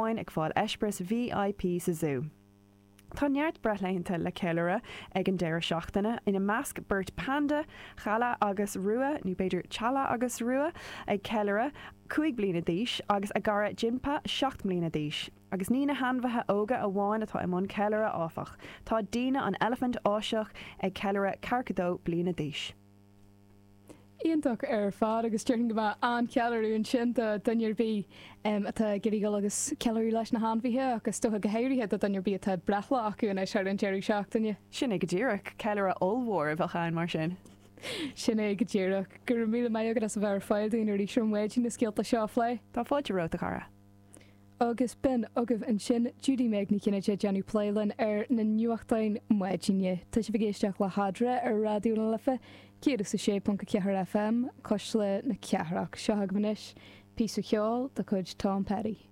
amháin ag fáil eispéireas VIP sa zú. Tá neart breithlaethanta le ceiliúradh ag an deireadh seachtaine, ina measc beirt panda, Chala agus Rua, nó b'fhéidir Chala agus Rua, ag ceiliúradh 5 bliana d'aois, agus a gcara Jinpa, 7 mbliana d'aois. Agus ní na hainmhithe óga amháin atá i mbun ceiliúradh, áfach. Tá Dina, an eilifint Áiseach, ag ceiliúradh 42 bliana d'aois. Iontach ar fad agus déarfainn go mbeadh an-cheiliúradh ansin do dhuine ar bith atá ag iarraidh dul agus ceiliúradh leis na hainmhithe ach is dócha go háirithe do dhuine ar bith atá breithlá acu anois thar an deireadh seachtaine. Sin é go díreach. Ceiliúradh ollmhór a bheadh ann mar sin. Sin é go díreach. Go raibh míle maith agat as a bheith ar fáil dúinn arís ar maidin na scéalta seo a phlé. Tá fáilte romhat, a chara. Agus b'in agaibh ansin Judy Meg Ní Chinnéide ag déanamh plé linn ar na nuachtáin maidine. Tá sibh ag éisteacht le hEadra ar Raidió na Life 106.4 FM, Cuisle na Cathrach. Seo agaibh anois píosa cheoil de chuid Tom Petty.